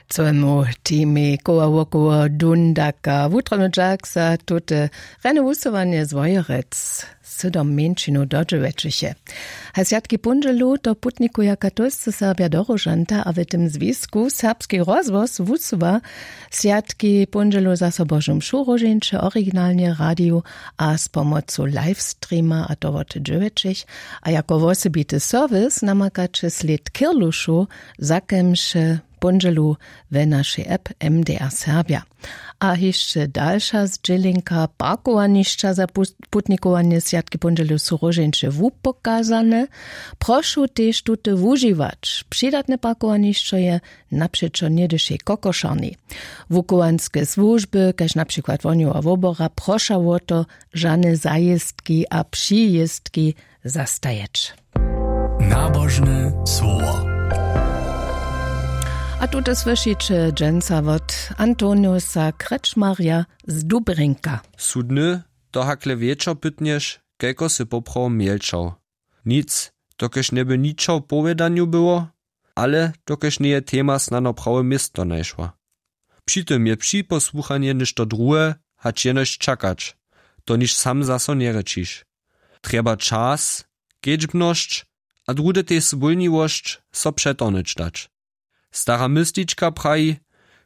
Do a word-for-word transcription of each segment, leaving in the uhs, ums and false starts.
Cemu teamej koła wokoło dundaka wutrobny dźak za tute rjane wusyłanje z wojerec, sydom mjeńšinow dodźěłećiche. A swjatki póndźelu to putnikuja katolscy serbja do róžanta a w tym zwisku serbski rozhłos wusyła swjatki póndźelu zaso božu mšu róžeńće originalnje radiju a z pomocu livestreama a to wot dźěłećich. A jako wosebity serwis namakaće slěd kirlušow, za kemše póndźelu we našej app mdr serbja. A hišće dalša zdźělenka: parkowanišća za putnikowanje swjatki póndźelu su róžeńće wupokazane. Prošu tež tute wužiwać. Přidatne parkowanišćo je napřećo něhdyšej kokošarni. Wukowanske słužby kaž na přikład wohnjowa wobora proša wo to, žane zajěztki a přijěztki zastajeć. Nabožne słowo. A tute słyšiće dźensa wot antoniusa krečmarja z dubrinka. Su dny, to hakle wječor pytnješ, kajko sy poprawo mjelčał? Nic, dokelž njeby ničo w powědanju było, ale dokelž njeje tema snano prawe město našła. Při tym je připosłuchanje něšto druhe, hač jenož čakać, to niž sam zaso njerěčiš. Trjeba čas, kedźbnosć a druhdy tež swólniwosć, so přetorhnyć dać. Stara myslička praji: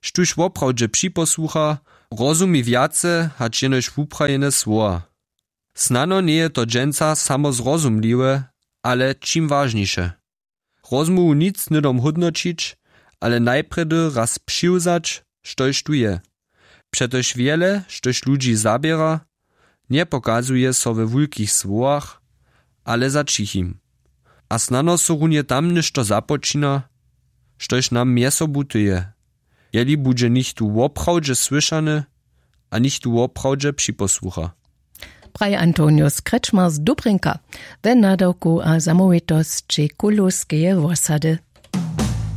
Štóž woprawdźe připosłucha, rozumi wjace hač jenož wuprajene słowa. Snano njeje to dźensa samo zrozumliwe, ale čim wažniše. Rozmołwu nic hnydom hódnoćić, ale najprjedy raz přiwzać, štož tu je. Přetož wjele štož ludźi zaběra, njepokazuje so we wulkich słowach, ale za ćichim. A snano so runje tam něšto započina, štož nam mjez sobu tyje, jeli budźe nichtó woprawdźe słyšany a nichtó woprawdźe připosłucha. Praji antonius krečmar z dubrinka we nadawku a zamołwitosći kulowskeje wosady.